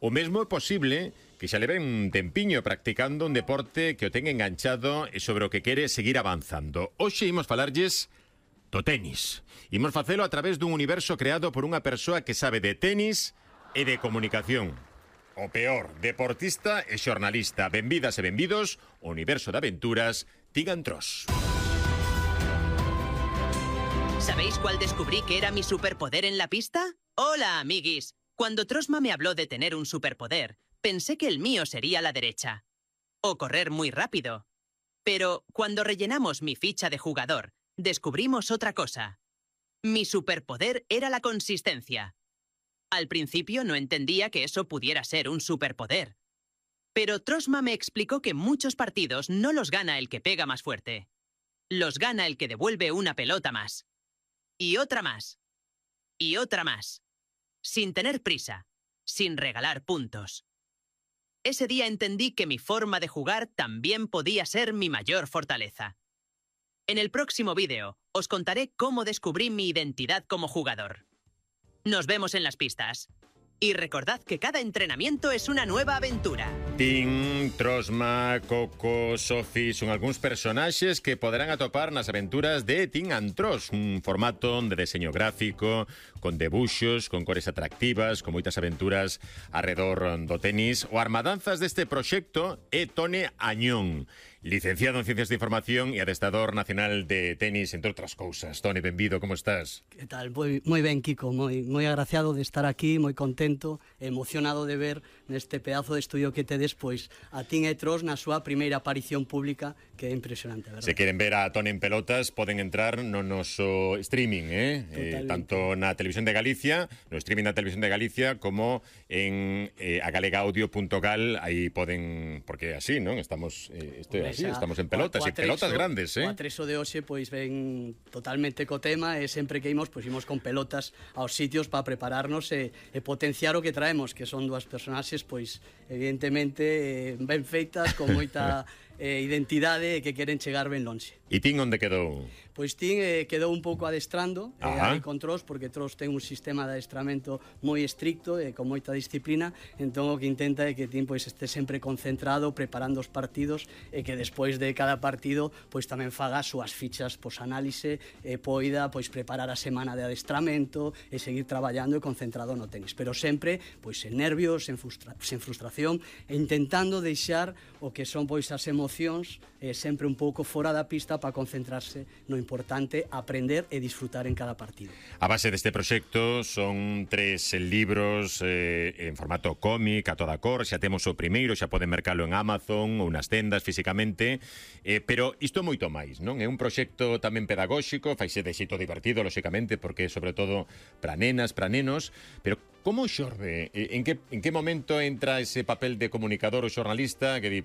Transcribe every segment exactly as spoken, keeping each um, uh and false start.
O mesmo é posible que xa leven un tempiño practicando un deporte que o ten enganchado e sobre o que quere seguir avanzando. Hoxe imos falarlles do tenis. Imos facelo a través dun universo creado por unha persoa que sabe de tenis e de comunicación. O peor, deportista e xornalista. Benvidas e benvidos ao universo de aventuras Tin Antros. ¿Sabéis cuál descubrí que era mi superpoder en la pista? Hola, amiguis. Cuando Trosma me habló de tener un superpoder, pensé que el mío sería la derecha. O correr muy rápido. Pero cuando rellenamos mi ficha de jugador, descubrimos otra cosa. Mi superpoder era la consistencia. Al principio no entendía que eso pudiera ser un superpoder. Pero Trosma me explicó que muchos partidos no los gana el que pega más fuerte. Los gana el que devuelve una pelota más. Y otra más. Y otra más. Sin tener prisa. Sin regalar puntos. Ese día entendí que mi forma de jugar también podía ser mi mayor fortaleza. En el próximo vídeo os contaré cómo descubrí mi identidad como jugador. Nos vemos en las pistas. Y recordad que cada entrenamiento es una nueva aventura. Tin, Trosma, Coco, Sofi son algúns personaxes que poderán atopar nas aventuras de Tin Antros, un formato de deseño gráfico, con debuxos, con cores atractivas, con moitas aventuras arredor do tenis. O armadanzas deste proxecto é Tone Añón, licenciado en Ciencias de Información e adestador nacional de tenis, entre outras cousas. Tone, benvido, como estás? Que tal? Moi, moi ben, Kiko, moi, moi agraciado de estar aquí, moi contento, emocionado de ver neste pedazo de estudio que tedes, pois, a Tin e Tros na súa primeira aparición pública, que é impresionante, verdad? Se queren ver a Tone en pelotas, poden entrar no noso streaming, eh? eh tanto na Televisión de Galicia, no streaming da Televisión de Galicia, como en eh, agalegaudio punto gal, aí poden, porque así, non? Estamos, eh, este, así, estamos en pelotas, e pelotas grandes, eh? O atreso de hoxe, pois, ven totalmente co tema, e sempre que imos, pois, imos con pelotas aos sitios para prepararnos e, e potenciar o que traemos, que son dúas personaxes, pois, evidentemente, eh, ben feitas, con moita eh, identidade e que queren chegar ben lonxe. E Tin onde quedou? Pois Tin eh, quedou un pouco adestrando eh, aí con Tros, porque Tros ten un sistema de adestramento moi estricto e con moita disciplina, entón o que intenta é que Tin pois este sempre concentrado preparando os partidos e que despois de cada partido pois tamén faga as súas fichas posanálise e poida pois preparar a semana de adestramento e seguir traballando e concentrado no tenis, pero sempre pois sen nervios, sen, frustra sen frustración e intentando deixar o que son pois as emocións eh, sempre un pouco fora da pista para concentrarse no importante, aprender e disfrutar en cada partido. A base deste proxecto son tres libros eh, en formato cómic a toda cor, xa temos o primeiro, xa poden mercalo en Amazon ou nas tendas físicamente, eh, pero isto é moito máis, non? É un proxecto tamén pedagóxico, faise de xeito divertido, lóxicamente, porque sobre todo para nenas, para nenos, pero como xorde? En que, en que momento entra ese papel de comunicador ou xornalista que di,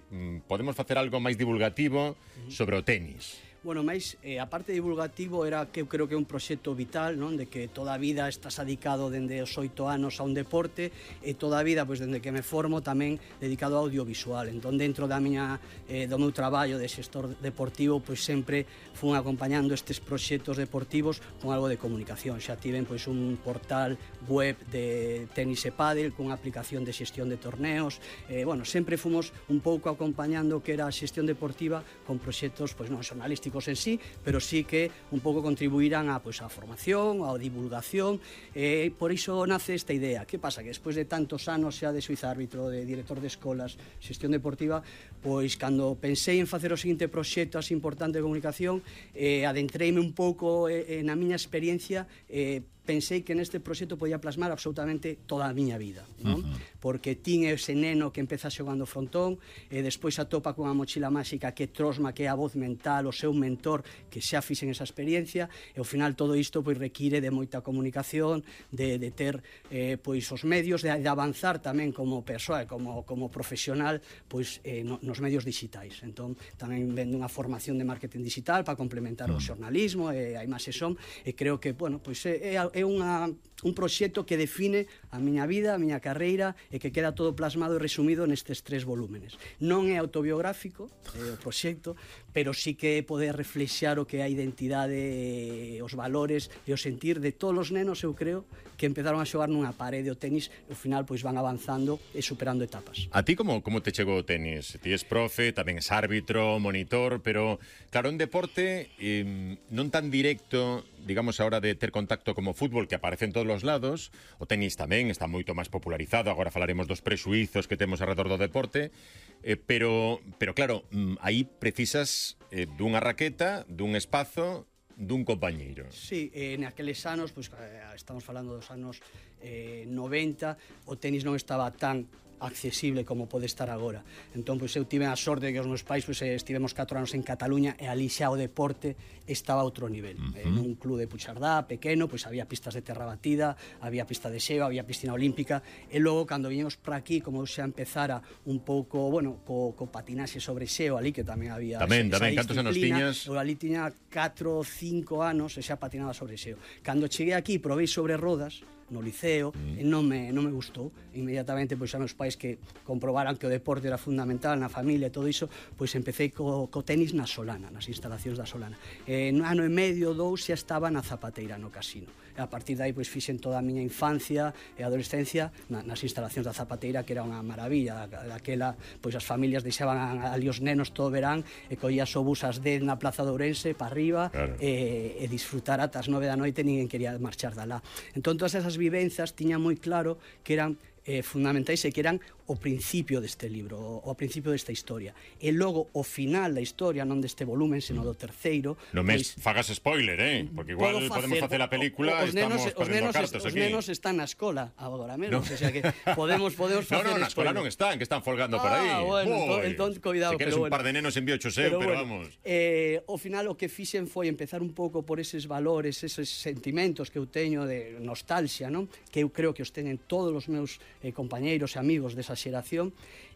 podemos facer algo máis divulgativo sobre o tenis? Bueno, máis, eh, a parte divulgativo era que eu creo que é un proxecto vital, non? De que toda a vida estás dedicado dende os oito anos a un deporte e toda a vida, pois, dende que me formo tamén dedicado ao audiovisual. Entón, dentro da miña, eh, do meu traballo de xestor deportivo, pois sempre fun acompañando estes proxectos deportivos con algo de comunicación. Xa tiven, pois, un portal web de tenis e pádel con aplicación de xestión de torneos. Eh, bueno, sempre fomos un pouco acompañando que era a xestión deportiva con proxectos, pois, non xornalísticos en sí, pero sí que un pouco contribuirán a, pois, a formación, a divulgación, e por iso nace esta idea. Que pasa? Que despois de tantos anos xa de suizárbitro, de director de escolas, xestión deportiva, pois cando pensei en facer o seguinte proxecto así importante de comunicación, eh, adentreime un pouco eh, na miña experiencia, eh, pensei que neste proxecto podía plasmar absolutamente toda a miña vida, non? Uh-huh. Porque Tin é ese neno que empeza xogando frontón e despois atopa cunha mochila máxica que é Trosma, que é a voz mental, o seu mentor, que xa fixen esa experiencia, e ao final todo isto pois require de moita comunicación, de, de ter eh, pois os medios, de, de avanzar tamén como persoa e como, como profesional pois eh, no, nos medios digitais. Entón tamén vendo unha formación de marketing digital para complementar uh-huh. o xornalismo e a imaxe son, e creo que, bueno, pois é, é é unha un proxecto que define a miña vida, a miña carreira e que queda todo plasmado e resumido nestes tres volúmenes. Non é autobiográfico é o proxecto, pero sí que é poder reflexar o que é a identidade, os valores e o sentir de todos os nenos, eu creo, que empezaron a xogar nunha parede o tenis e ao final pois van avanzando e superando etapas. A ti como, como te chegou o tenis? Ti és profe, tamén és árbitro, monitor, pero claro, un deporte eh, non tan directo, digamos, a hora de ter contacto como fútbol, que aparece en todos os lados. O tenis tamén está moito máis popularizado, agora falaremos dos prexuizos que temos alrededor do deporte, eh, pero, pero claro, aí precisas eh, dunha raqueta, dun espazo, dun compañeiro. Sí, eh, naqueles anos, pues, eh, estamos falando dos anos eh, noventa, o tenis non estaba tan accesible como pode estar agora. Entón, pois, eu tive a sorte de que os meus pais pois, estivemos catro anos en Cataluña e ali xa o deporte estaba a outro nivel. Uh-huh. En un club de Puigcerdá, pequeno, pois había pistas de terra batida, había pista de xeo, había piscina olímpica, e logo, cando viñemos para aquí, como xa empezara un pouco, bueno, co, co patinaxe sobre xeo ali, que tamén había tamén, esa, tamén, esa cantos anos tiñas? Eu ali tiña catro ou cinco anos e xa patinaba sobre xeo. Cando cheguei aquí, provei sobre rodas, no liceo, mm. e non me, non me gustou. Inmediatamente, pois, a meus pais que comprobaran que o deporte era fundamental na familia e todo iso, pois empecé co, co tenis na Solana, nas instalacións da Solana. E no ano e medio, dous, xa estaba na Zapateira, no casino. E a partir de aí, pois, fixen toda a miña infancia e adolescencia na, nas instalacións da Zapateira, que era unha maravilla. Daquela, pois, as familias deixaban ali os nenos todo o verán e collías o bus ás dez na Plaza de Ourense para arriba, claro. e, e disfrutar ata as nove da noite, ninguén quería marchar da lá. Entón, todas esas vivenzas tiña moi claro que eran eh, fundamentais e que eran o principio deste libro, o, o principio desta historia. E logo, o final da historia, non deste volumen, sino do terceiro... Non me pois, fagas spoiler, eh? Porque igual facer, podemos facer a película e estamos perdendo cartas aquí. Os nenos están na escola agora mesmo, no. O sea que podemos, podemos facer... No, no, na escola non están, que están folgando ah, por aí. Ah, bueno, entón, entón, cuidado. Se queres un bueno. par de nenos envío seu, pero, pero bueno, vamos... Eh, ao final, o que fixen foi empezar un pouco por eses valores, eses sentimentos que eu teño de nostalgia, non? Que eu creo que os teñen todos os meus eh, compañeiros e amigos desa xeración,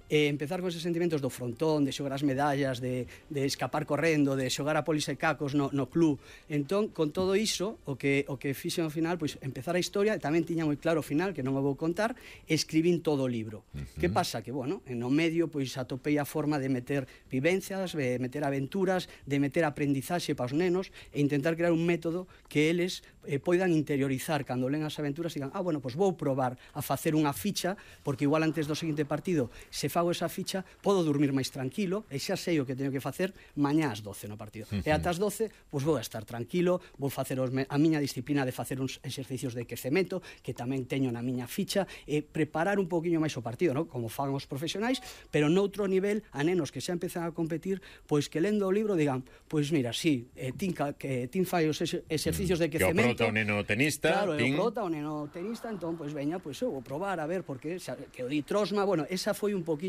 e empezar con eses sentimentos do frontón, de xogar as medallas, de, de escapar correndo, de xogar a polis e cacos no, no club. Entón, con todo iso, o que, o que fixen ao final, pois, empezar a historia, e tamén tiña moi claro o final, que non o vou contar, escribín todo o libro. Uh-huh. Que pasa? Que, bueno, en o medio, pois, atopei a forma de meter vivencias, de meter aventuras, de meter aprendizaxe para os nenos, e intentar crear un método que eles eh, poidan interiorizar cando len as aventuras e digan, ah, bueno, pois vou probar a facer unha ficha, porque igual antes do seguinte partido, se fago esa ficha, podo dormir máis tranquilo e xa sei o que teño que facer mañá ás doce no partido. Uh-huh. E ata as doce, pois vou a estar tranquilo, vou facer os, a miña disciplina de facer uns exercicios de quecemento, que tamén teño na miña ficha, e preparar un poquinho máis o partido, ¿no? Como fan os profesionais, pero noutro nivel, a nenos que xa empezan a competir, pois que lendo o libro digan, pois mira, sí, eh, tin, que, tin fai os exercicios de quecemento. Que o prota o neno tenista. Claro, tin... o prota o neno tenista, entón, pois veña, pois eu vou probar, a ver, porque xa, que o di Trosma, bueno, esa foi un poquinho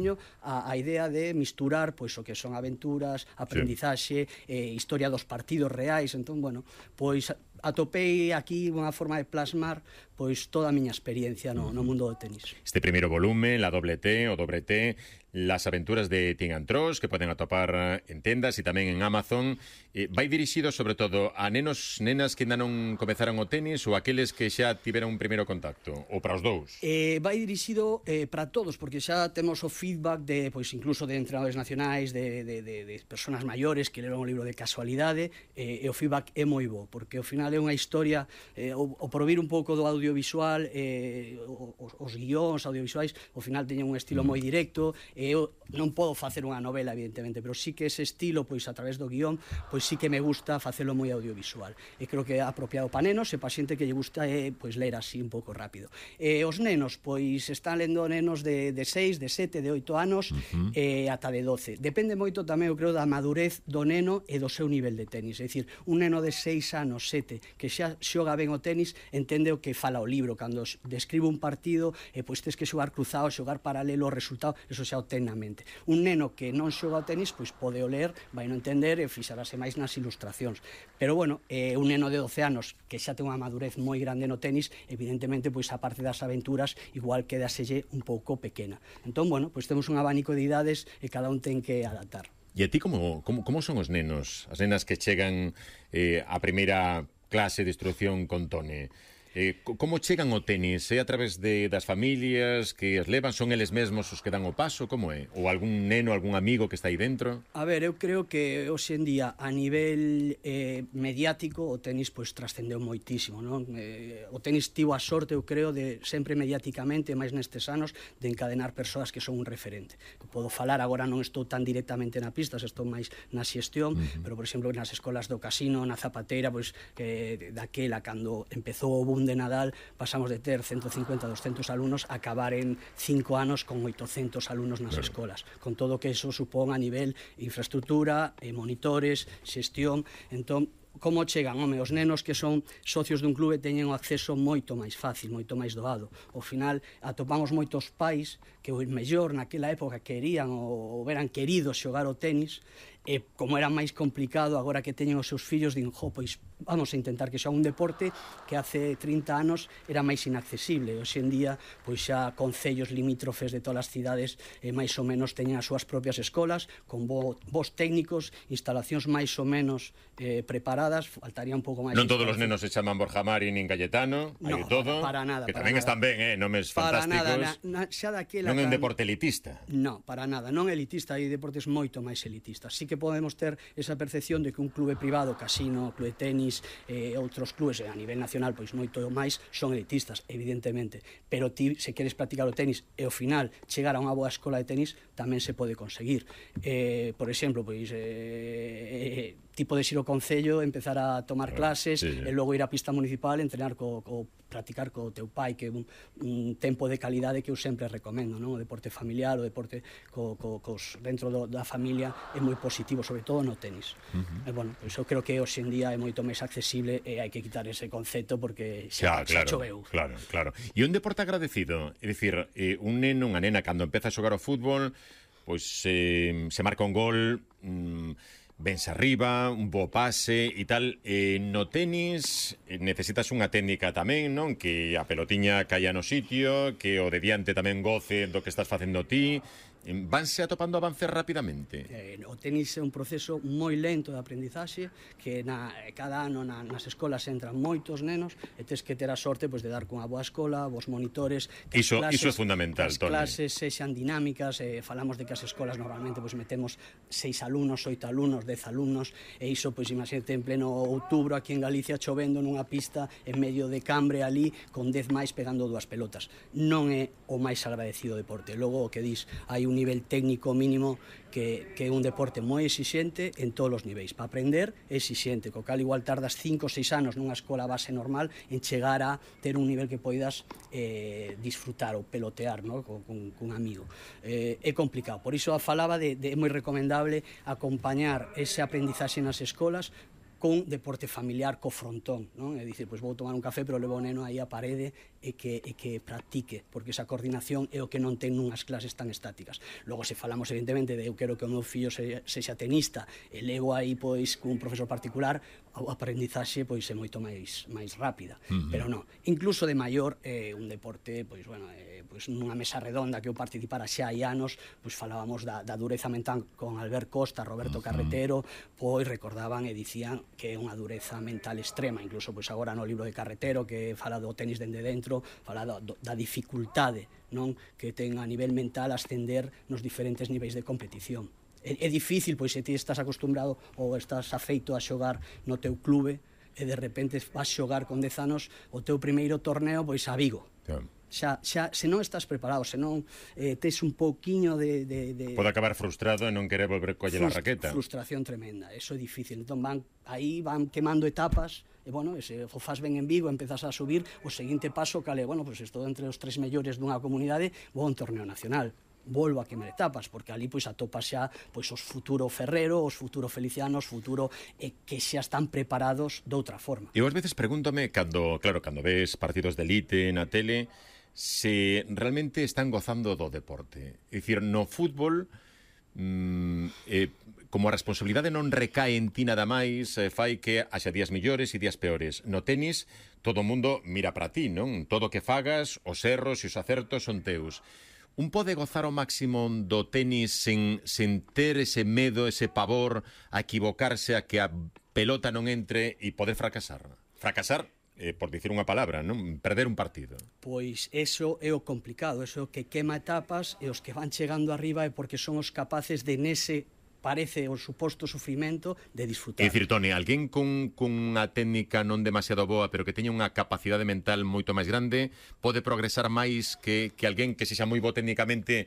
A, a idea de misturar pois o que son aventuras, aprendizaxe, sí. eh, historia dos partidos reais. Entón, bueno, pois atopei aquí unha forma de plasmar pois toda a miña experiencia no, no mundo do tenis. Este primeiro volume, la doble T o dobre T, las aventuras de Tim and Tros, que poden atopar en tendas e tamén en Amazon, eh, vai dirixido sobre todo a nenos, nenas que ainda non comezaron o tenis ou aqueles que xa tiveron un primeiro contacto, ou para os dous? Eh, vai dirixido eh, para todos, porque xa temos o feedback de, pois incluso de entrenadores nacionais, de, de, de, de personas maiores que leron o libro de casualidade, eh, e o feedback é moi bo, porque ao final é unha historia, eh, o, o por vir un pouco do audiovisual, eh, os, os guións audiovisuais, ao final teñen un estilo mm. moi directo, e eu non podo facer unha novela, evidentemente, pero sí que ese estilo, pois a través do guión, pois sí que me gusta facelo moi audiovisual. E creo que é apropiado para nenos e para xente que lle gusta é, pois, ler así un pouco rápido. E os nenos, pois, están lendo nenos de, de seis, de sete, de oito anos, uh-huh. e ata de doce. Depende moito tamén, eu creo, da madurez do neno e do seu nivel de tenis. É dicir, un neno de seis anos, sete, que xa xoga ben o tenis, entende o que fala o libro. Cando describe un partido, e pois tes que xogar cruzado, xogar paralelo, o resultado, eso xa o ten na mente. Un neno que non xoga o tenis, pois pode o ler, vai non entender e fixarase máis nas ilustracións. Pero, bueno, eh, un neno de doce anos que xa ten unha madurez moi grande no tenis, evidentemente, pois a parte das aventuras, igual quedaselle un pouco pequena. Entón, bueno, pois temos un abanico de idades e cada un ten que adaptar. E a ti como, como, como son os nenos, as nenas que chegan eh, a primeira clase de instrucción con Tone? Eh, como chegan ao tenis? É a través de, das familias que as levan? Son eles mesmos os que dan o paso? Como é? Ou algún neno, algún amigo que está aí dentro? A ver, eu creo que hoxe en día a nivel eh, mediático o tenis pois trascendeu moitísimo, non? Eh, o tenis tivo a sorte, eu creo, de sempre mediáticamente, máis nestes anos, de encadenar persoas que son un referente. Podo falar, agora non estou tan directamente na pista, estou máis na xestión, uh-huh. pero, por exemplo, nas escolas do Casino, na Zapateira, pois, eh, daquela, cando empezou o boom de Nadal, pasamos de ter ciento cincuenta, doscientos alumnos a acabar en cinco anos con oitocentos alumnos nas claro. escolas, con todo o que eso supón a nivel infraestructura, eh, monitores, xestión. Entón, como chegan, home, os nenos que son socios dun clube teñen o acceso moito máis fácil, moito máis doado. Ao final, atopamos moitos pais que o mellor naquela época querían ou eran queridos xogar o tenis, e como era máis complicado, agora que teñen os seus fillos, din, jo, pois vamos a intentar que xa un deporte que hace trinta anos era máis inaccesible. Hoxe en día, pois xa concellos limítrofes de todas as cidades eh, máis ou menos teñen as súas propias escolas, con bo, bos técnicos, instalacións máis ou menos eh, preparadas, faltaría un pouco máis. Non todos os nenos se chaman Borja Mari nin Cayetano, hai de todo, para nada, que para tamén nada. están ben, eh, nomes para fantásticos. Nada, na, na, xa daquela non é un can... deporte elitista. No, para nada, non elitista, hai deportes moito máis elitistas. Sí que podemos ter esa percepción de que un clube privado, Casino, clube de tenis, eh, outros clubes a nivel nacional, pois moito máis son elitistas, evidentemente, pero ti, se queres practicar o tenis e ao final chegar a unha boa escola de tenis, tamén se pode conseguir. Eh, por exemplo, pois eh, ti podes ir ao concello, empezar a tomar clases, sí, sí. e logo ir á pista municipal, entrenar co, co practicar co teu pai, que é un, un tempo de calidade que eu sempre recomendo, non? O deporte familiar, o deporte co, co, cos, dentro do, da familia é moi positivo, sobre todo no tenis. Uh-huh. E, bueno, pois eu creo que hoxe en día é moito máis accesible e hai que quitar ese concepto porque xa, xa, claro, xa choveu. Claro, claro. E un deporte agradecido, é dicir, eh, un neno, unha nena, cando empeza a xogar ao fútbol, pois eh, se marca un gol... Mm, vense arriba, un bo pase e tal. Eh, no tenis eh, necesitas unha técnica tamén, non? Que a pelotiña caia no sitio, que o de diante tamén goce do que estás facendo ti. Vanse atopando avances rapidamente? Eh, o tenis é un proceso moi lento de aprendizaxe, que na, cada ano na, nas escolas entran moitos nenos e tes que ter a sorte pois, de dar cunha boa escola, bos monitores, que iso, as clases, iso é fundamental, as Toni. clases sexan dinámicas, eh, falamos de que as escolas normalmente pois, metemos seis alumnos, oito alumnos, dez alumnos, e iso, pois, imagínate, en pleno outubro aquí en Galicia chovendo nunha pista en medio de Cambre ali, con dez máis pegando dúas pelotas. Non é o máis agradecido deporte. Logo, o que dis, hai un nivel técnico mínimo que, que é un deporte moi exixente en todos os niveis. Para aprender é exixente, co cal igual tardas cinco ou seis anos nunha escola base normal en chegar a ter un nivel que poidas eh, disfrutar ou pelotear, ¿no? con, con, con un amigo. Eh, é complicado, por iso falaba de, de é moi recomendable acompañar ese aprendizaxe nas escolas con deporte familiar co frontón, non? É dicir, pois vou tomar un café, pero levo o neno aí á parede e que, e que practique, porque esa coordinación é o que non ten nunhas clases tan estáticas. Logo, se falamos, evidentemente, de eu quero que o meu fillo se, sexa tenista e levo aí, pois, cun profesor particular, o aprendizaxe, pois, é moito máis, máis rápida. Uh-huh. Pero non, incluso de maior, é eh, un deporte, pois, bueno, eh, pois, nunha mesa redonda que eu participara xa hai anos, pois, falábamos da, da dureza mental con Albert Costa, Roberto uh-huh. Carretero, pois, recordaban e dicían que é unha dureza mental extrema, incluso pois agora no libro de Carretero que fala do tenis dende dentro, fala do, do, da dificultade, non, que ten a nivel mental ascender nos diferentes niveis de competición. É, é difícil, pois se ti estás acostumbrado ou estás afeito a xogar no teu clube e de repente vas xogar con dez anos o teu primeiro torneo pois a Vigo. Yeah. Xa, xa, se non estás preparado, se non eh, tes un pouquiño de, de, de... Pode acabar frustrado e non querer volver coller a raqueta. Frustración tremenda, eso é difícil. Entón van, aí van quemando etapas, e bueno, se o faz ben en Vigo, empezas a subir, o seguinte paso, cale, bueno, pues estou entre os tres mellores dunha comunidade, vou a un torneo nacional. Volvo a quemar etapas, porque ali pois atopas xa pois os futuro Ferrero, os futuro Feliciano, os futuro eh, que xa están preparados de outra forma. E ás veces pregúntame, cando, claro, cando ves partidos de elite na tele, se realmente están gozando do deporte. É dicir, no fútbol, mm, eh, como a responsabilidade non recae en ti nada máis, eh, fai que haxa días millores e días peores. No tenis, todo o mundo mira para ti, non? Todo o que fagas, os erros e os acertos son teus. Un pode gozar ao máximo do tenis sen, sen ter ese medo, ese pavor a equivocarse, a que a pelota non entre e poder fracasar? Fracasar eh, por dicir unha palabra, non? Perder un partido. Pois eso é o complicado, eso é o que quema etapas, e os que van chegando arriba é porque son os capaces de nese parece o suposto sufrimento de disfrutar. É dicir, Toni, alguén con, con unha técnica non demasiado boa, pero que teña unha capacidade mental moito máis grande, pode progresar máis que, que alguén que sexa moi bo técnicamente,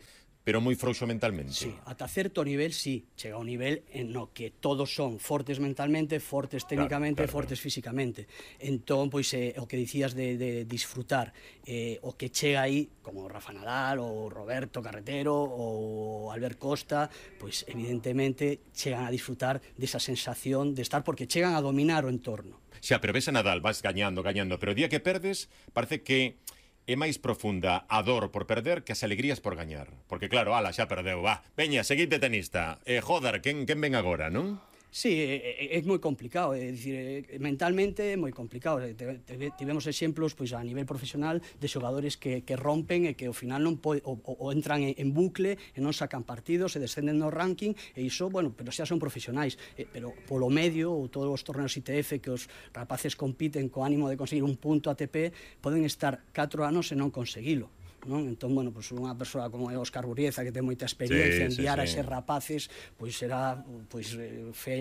pero moi frouxo mentalmente. Sí, ata certo nivel, sí. Chega a un nivel en no que todos son fortes mentalmente, fortes técnicamente, claro, claro, fortes claro. físicamente. Entón, pois, eh, o que dicías de, de disfrutar, eh, o que chega aí, como Rafa Nadal, ou Roberto Carretero, ou Albert Costa, pois, evidentemente, chegan a disfrutar desa sensación de estar, porque chegan a dominar o entorno. Xa, pero ves a Nadal, vas gañando, gañando, pero o día que perdes, parece que é máis profunda a dor por perder que as alegrías por gañar. Porque claro, ala, xa perdeu, va, veña, seguinte tenista, eh, joder, quen, quen ven agora, non? Sí, é, é moi complicado, é dicir, mentalmente é moi complicado. Tivemos exemplos pois a nivel profesional de xogadores que, que rompen e que ao final non pode, o, o entran en, en bucle e non sacan partidos, se descenden no ranking, e iso, bueno, pero xa son profesionais, eh, pero polo medio, ou todos os torneos I T F que os rapaces compiten co ánimo de conseguir un punto A T P, poden estar catro anos e non conseguilo. Non? Entón, bueno, pues unha persoa como é Óscar Burrieza, que ten moita experiencia, sí, enviar sí, sí. a eses rapaces, pois será pois,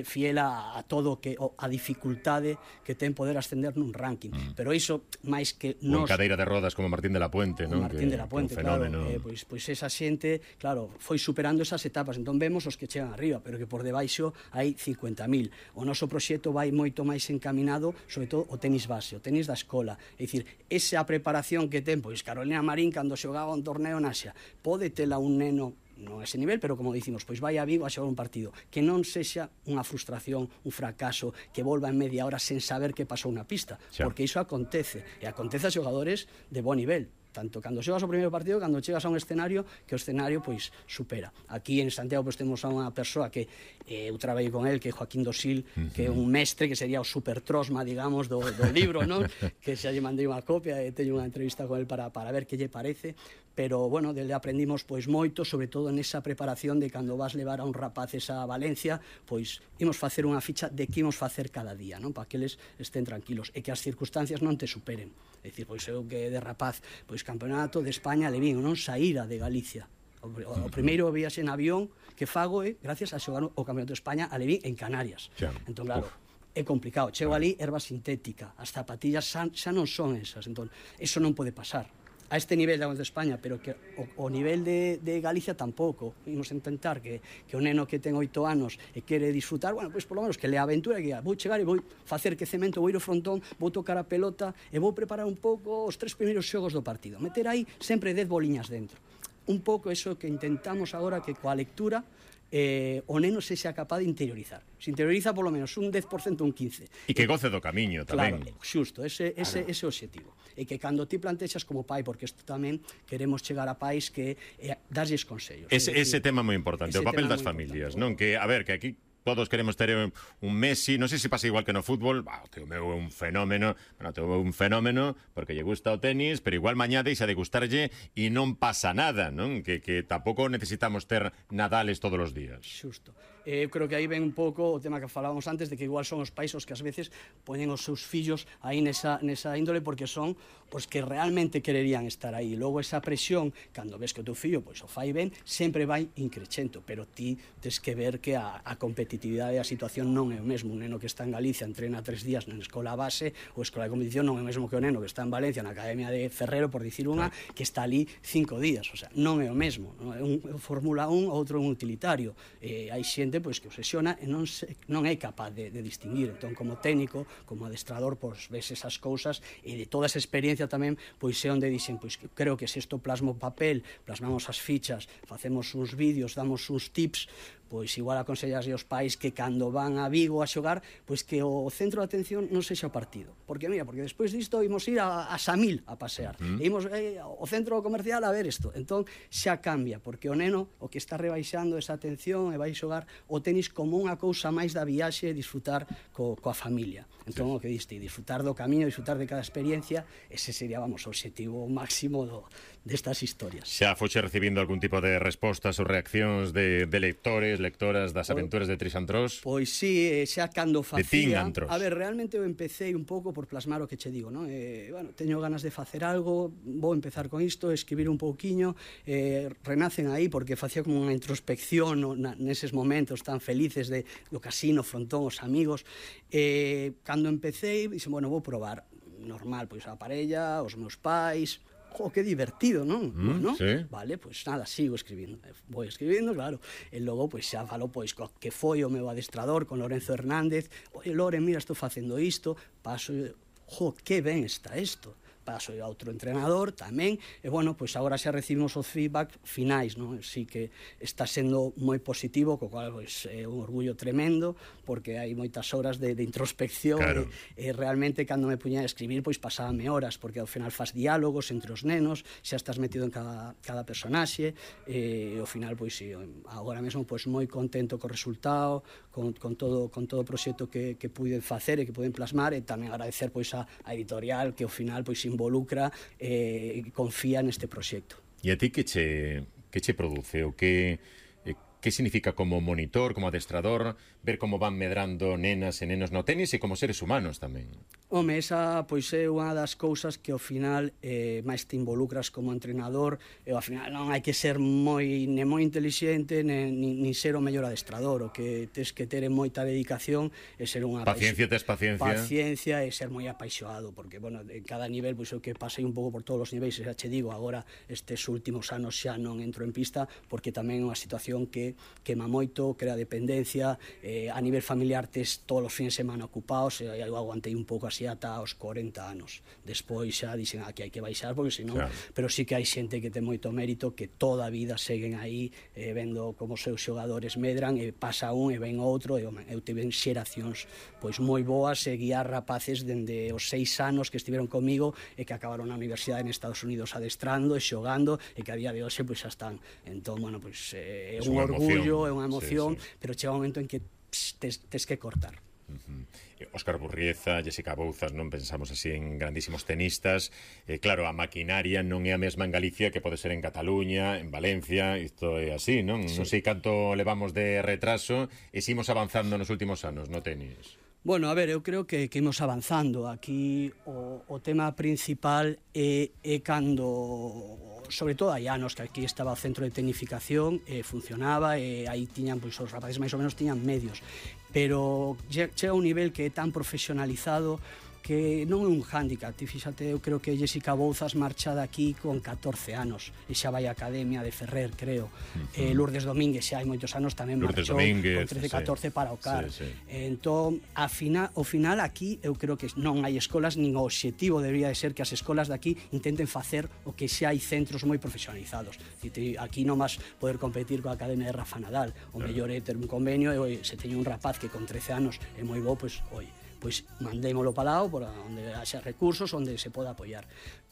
fiel a, a todo que a dificultade que ten poder ascender nun ranking. Mm. Pero iso, máis que nos... Con cadeira de rodas como Martín de la Puente, non? Martín que, de la Puente, claro. Eh, pois, pois esa xente, claro, foi superando esas etapas. Entón vemos os que chegan arriba, pero que por debaixo hai cincuenta mil. O noso proxecto vai moito máis encaminado, sobre todo o tenis base, o tenis da escola. É dicir, esa preparación que ten, pois Carolina Marín, cando xogaba un torneo na Asia, pode tela un neno non a ese nivel, pero como dicimos, pois vai a Vigo a xogar un partido, que non sexa unha frustración, un fracaso, que volva en media hora sen saber que pasou na pista, xa. Porque iso acontece, e acontece a xogadores de bo nivel, tanto cando xogas o primeiro partido, cando chegas a un escenario, que o escenario pois supera. Aquí en Santiago pois temos a unha persoa que eh, eu traballei con el, que é Joaquín Dosil, uh-huh. que é un mestre, que sería o super trosma, digamos, do, do libro, non? Que xa lle mandei unha copia e teño unha entrevista con el para, para ver que lle parece, pero, bueno, dele aprendimos pois moito, sobre todo nesa preparación de cando vas levar a un rapaces a Valencia, pois imos facer unha ficha de que imos facer cada día, non? Para que eles estén tranquilos e que as circunstancias non te superen. É dicir, pois eu que de rapaz, pois campeonato de España levín, non saíra de Galicia. O, o, o primeiro viaxe en avión que fago é gracias a xogar o campeonato de España a levín en Canarias. Ja. Entón, claro, Uf. é complicado. Chego ali, erva sintética, as zapatillas xa, xa non son esas. Entón, eso non pode pasar a este nivel de España, pero que o, o nivel de, de Galicia tampouco. Imos intentar que, que o neno que ten oito anos e quere disfrutar, bueno, pois por lo menos que le aventura, que vou chegar e vou facer que cemento, vou ir ao frontón, vou tocar a pelota e vou preparar un pouco os tres primeiros xogos do partido. Meter aí sempre dez boliñas dentro. Un pouco eso que intentamos agora, que coa lectura eh, o neno se xa capaz de interiorizar. Se interioriza polo menos un dez por cento, un quince por cento. E que goce do camiño tamén. Claro, xusto, ese, ese, ese objetivo. E que cando ti plantexas como pai, porque isto tamén queremos chegar a pais que eh, darlles consellos. Ese, ese tema moi importante, o papel das familias, non? Que, a ver, que aquí todos queremos ter un Messi, non sei se pasa igual que no fútbol, bah, o teu meu é un fenómeno, bueno, o teu meu é un fenómeno, porque lle gusta o tenis, pero igual mañá deixa de gustarlle e non pasa nada, non? Que, que tampouco necesitamos ter Nadales todos os días. Xusto. Eu eh, creo que aí ven un pouco o tema que falábamos antes, de que igual son os pais os que ás veces poñen os seus fillos aí nesa, nesa índole, porque son os que realmente quererían estar aí. Logo esa presión, cando ves que o teu fillo pois, o fai ben, sempre vai increchento, pero ti tes que ver que a, a competitividade e a situación non é o mesmo. Un neno que está en Galicia entrena tres días na escola base, ou escola de competición, non é o mesmo que o neno que está en Valencia na Academia de Ferrero, por dicir unha, que está ali cinco días. O sea, non é o mesmo. Non é un Fórmula un, outro un utilitario. Eh, hai xente pois, que obsesiona e non, se, non é capaz de, de distinguir. Entón, como técnico, como adestrador, pois ves esas cousas e de toda esa experiencia tamén, pois é onde dixen, pois creo que se isto plasmo papel, plasmamos as fichas, facemos uns vídeos, damos uns tips, pois igual aconsellas aos pais que cando van a Vigo a xogar, pois que o centro de atención non sexa o partido. Porque, mira, porque despois disto imos ir a, a Samil a pasear. Uh-huh. E imos eh, ao centro comercial a ver isto. Entón, xa cambia, porque o neno o que está rebaixando esa atención e vai xogar o tenis como unha cousa máis da viaxe e disfrutar co, coa familia. Entón, sí. O que diste, disfrutar do camiño, disfrutar de cada experiencia, ese sería, vamos, o objetivo máximo do, destas historias. Xa foxe recibindo algún tipo de respostas ou reaccións de, de lectores, lectoras das aventuras de Trisantros? Pois sí, xa cando facía... De Trisantros. A ver, realmente eu empecé un pouco por plasmar o que che digo, non? Eh, bueno, teño ganas de facer algo, vou empezar con isto, escribir un pouquiño, eh, renacen aí porque facía como unha introspección no, na, neses momentos tan felices de, do casino, frontón, os amigos. Eh, cando empecé, dixen, bueno, vou probar. Normal, pois a parella, os meus pais... Jo, que divertido, non? Mm, bueno, sí. Vale, pois nada, sigo escribindo. Vou escribindo, claro. E logo, pois xa falo, pois, co que foi o meu adestrador con Lorenzo Hernández. Oye, Loren, mira, estou facendo isto. Paso, jo, que ben está isto. Paso a outro entrenador tamén, e bueno, pois agora xa recibimos os feedback finais, non? Sí que está sendo moi positivo, co cual pois é un orgullo tremendo, porque hai moitas horas de, de introspección, claro. e, e realmente cando me puña a escribir, pois pasábame horas, porque ao final faz diálogos entre os nenos, xa estás metido en cada, cada personaxe, e ao final, pois sí, agora mesmo pois moi contento co resultado, con, con todo con todo o proxecto que, que puiden facer e que poden plasmar, e tamén agradecer pois a, a editorial que ao final pois involucra e eh, confía neste proxecto. E a ti que che, que che produce? O que, eh, que significa como monitor, como adestrador, ver como van medrando nenas e nenos no tenis e como seres humanos tamén? Home, esa pois é unha das cousas que ao final eh, máis te involucras como entrenador, e ao final non hai que ser moi ne moi inteligente nin, nin ser o mellor adestrador, o que tes que ter moita dedicación e ser unha paciencia, tes paciencia. Paciencia e ser moi apaixoado, porque bueno, en cada nivel pois o que pasei un pouco por todos os niveis, xa che digo, agora estes últimos anos xa non entro en pista porque tamén é unha situación que quema moito, crea dependencia, eh, a nivel familiar tes todos os fins de semana ocupados, e eu aguantei un pouco así ata aos corenta anos. Despois xa dixen aquí hai que baixar porque senón, claro. Pero sí que hai xente que ten moito mérito, que toda a vida seguen aí eh, vendo como os seus xogadores medran, e pasa un e ven outro, e home, eu tive xeracións pois moi boas, e guiar rapaces dende os seis anos que estiveron comigo e que acabaron na universidade en Estados Unidos adestrando e xogando, e que a día de hoxe pois xa están. Entón, bueno, pois é un orgullo, é unha emoción, sí, sí. Pero chega un momento en que pss, tes, tes que cortar. Uh-huh. Óscar Burrieza, Jessica Bouzas, non pensamos así en grandísimos tenistas. Eh, claro, a maquinaria non é a mesma en Galicia que pode ser en Cataluña, en Valencia, isto é así, non? Sí. Non sei canto levamos de retraso e seguimos avanzando nos últimos anos no tenis. Bueno, a ver, eu creo que, que imos avanzando. Aquí o, o tema principal é, é cando, sobre todo hai anos que aquí estaba o centro de tecnificación, e funcionaba, e aí tiñan, pois os rapaces máis ou menos tiñan medios, pero chega un nivel que é tan profesionalizado que non é un hándicap. Ti fíxate, eu creo que Jessica Bouzas marcha daqui con catorce anos e xa vai á Academia de Ferrer, creo. Uh-huh. eh, Lourdes Domínguez xa hai moitos anos tamén Lourdes marchou Domínguez, con trece catorce sí. Para o C A R. Sí, sí. Entón, a final, ao final aquí eu creo que non hai escolas, nin o obxectivo debería de ser que as escolas daqui intenten facer o que xa hai centros moi profesionalizados. Aquí non vas poder competir coa Academia de Rafa Nadal. O mellor é ter un convenio, e oi, se teño un rapaz que con trece anos é moi bo, pois, oi, pois mandémolo para lá, por onde haxa recursos, onde se poda apoiar.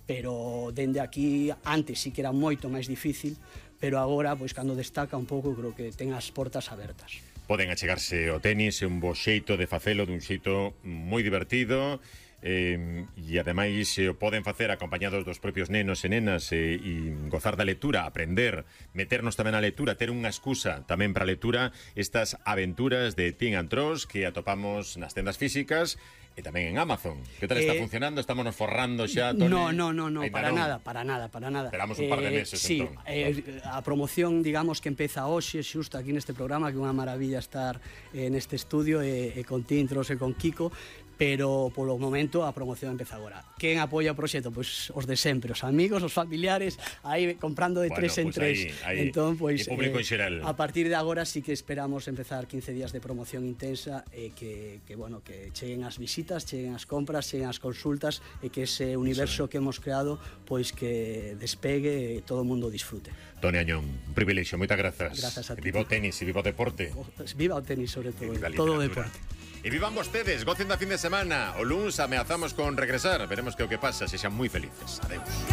Pero dende aquí, antes sí que era moito máis difícil, pero agora, pois cando destaca un pouco, creo que ten as portas abertas. Poden achegarse ao tenis, é un bo xeito de facelo, dun xeito moi divertido, eh, e ademais eh, o poden facer acompañados dos propios nenos e nenas, e, e gozar da lectura, aprender, meternos tamén na lectura, ter unha excusa tamén para a lectura, estas aventuras de Trisantros que atopamos nas tendas físicas e tamén en Amazon. Que tal está eh, funcionando? Estamos nos forrando xa, Toni? No, no, no, no, para non? nada, para nada, para nada. Esperamos un par de meses, eh, sí, entón. Eh, a promoción, digamos, que empeza hoxe, xusto aquí neste programa, que é unha maravilla estar eh, neste estudio, e, e con Tintros e con Kiko, pero polo momento a promoción empeza agora. Quen apoia o proxecto? Pois os de sempre, os amigos, os familiares, aí comprando de bueno, tres en pues tres. Aí, aí. Entón, pois, e público eh, en xeral. A partir de agora sí que esperamos empezar quince días de promoción intensa, e que, que, bueno, que cheguen as visitas, cheguen as compras, cheguen as consultas, e que ese universo que hemos creado, pois que despegue e todo o mundo disfrute. Toni Añón, un privilexio, moitas grazas. Grazas a ti. Viva o tenis e viva o deporte. Viva o tenis, sobre todo, todo o deporte. E vivan vostedes, gocen da fin de semana. O luns ameazamos con regresar. Veremos que o que pasa, se xan moi felices. Adeus.